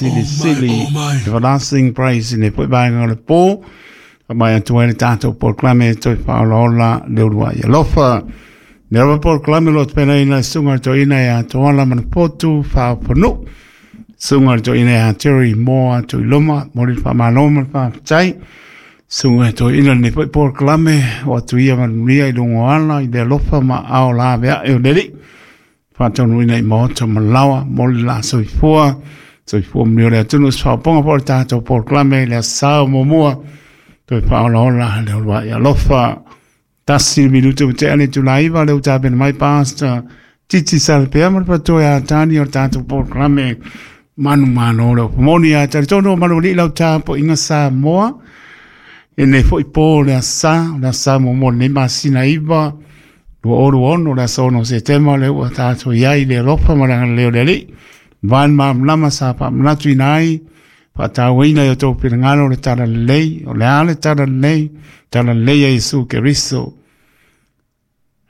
Sili sili everlasting praise i le foi vaega o le po. Mai atu ai le tatou polokalame toe faaolaola le uluai alofa. Le lava polokalame lo tupelaina le susuga i le toeaina ia Toala Manapotu Faaoponuu. Susuga i le toeaina ia Terry Moa Tuiloma, momoli le faamalo ma le faafetai. Susuga i le toeaina lenei foi polokalame o atu ia manuia i luga o ala i le alofa ma aao laveai o le Alii. Faataunuuina i maota ma laoa mo le la soifua. Soifua manuia o le atunuu se faaopoopoga foi o le tatou polokalame i le aso Sa muamua. Toe faaolaola le uluai alofa. 1 minutu ua tea le itula 9 lea ua tapena mai Pastor Titi Salapea ma le faletua ia Tani o le tatou polokalame manumalo le upu moni ia talitonu o malualii lau tapuaiga Samoa. E nei foi po o le aso Sa, o le aso Sa muamua o lenei masina 9, 2026, le aso 6 o Setema lea ua tatou i ai i le alofa ma le agalelei o le Alii. Vae malamalama sa faamanatuina ai, faatauaina i o outou finagalo le talalelei, o le a le talalelei, talalelei a Iesu Keriso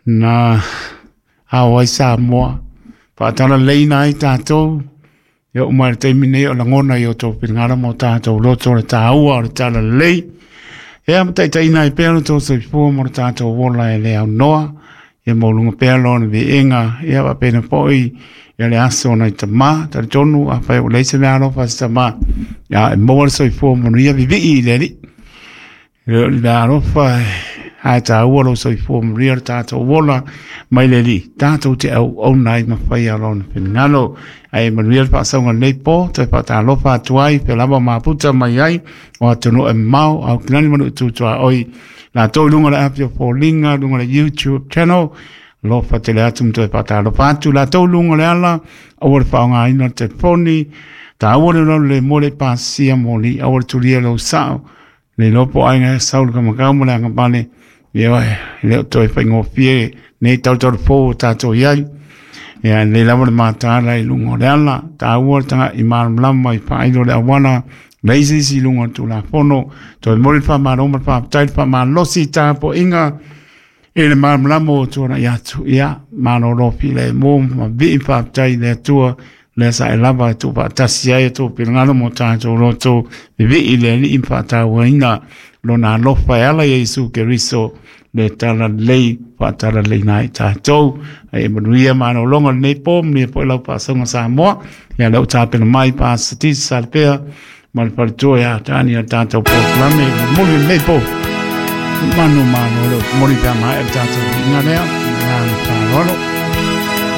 na ao ai Samoa, faatalaleina ai tatou. E oo mai le taimi nei o lagona i o outou finagalo ma o tatou loto le taua o le talalelei. Ea ma taitaiina ai pea lo outou soifua ma lo tatou ola e le aunoa. Ia maualuga pea lona viiga, ia faapena foi ia le aso o nai tama. Talitonu afai ua leai se meaalofa a se tama, ia e maua le soifua manuia vivii i le Alii. E le o le meaalofa ae taua lou soifua manuia le tatou ola mai le Alii, tatou te auauna ai ma faia lona finagalo. Ae manuia le faasauga o lenei po, toe faatalofa atu ai pe lava maputa mai ai o atunuu e mamao, Aukilani ma Nuu Tuaoi, latou i luga o le api o Foliga, luga o le YouTube channel. Alofa tele atu ma toe faatalofa atu latou i luga o le ala, aua le faaaogaina o le telefoni, taua le lolo le moe le pasia moli, aua le tulia lou sao, le iloa po o aiga e sau le kamakau ma le agavale, ia e le o toe faigofie nei tautau fou o tatou i ai. Ia lelei lava le mataala i luga o le ala, taua le taga'i malamalama i faailo le auala, leai se isi i luga o le Tulafono. Toe momoli le faamalo ma le faafetai le faamalosi i tapuaiga i le malamalama ua tuanai atu. Ia, malolo filemu ma vii faafetai i le Atua, lea sa e lava e tuufaatasi ai a outou finagalo ma o tatou loto vivii i le Alii ma faatauaina lona alofa e ala i Iesu Keriso le talalelei faatalaleina ai tatou. Ai e manuia malologa o lenei po, manuia foi lau faasauga Samoa. Ia lea ua tapena mai Pastor Titi Salapea ma le faletua ia Tani o le tatou polokalame momoli lenei po. Manu malo le momoli pe a maea le tatou viiga lea. Ma le faaaloalo.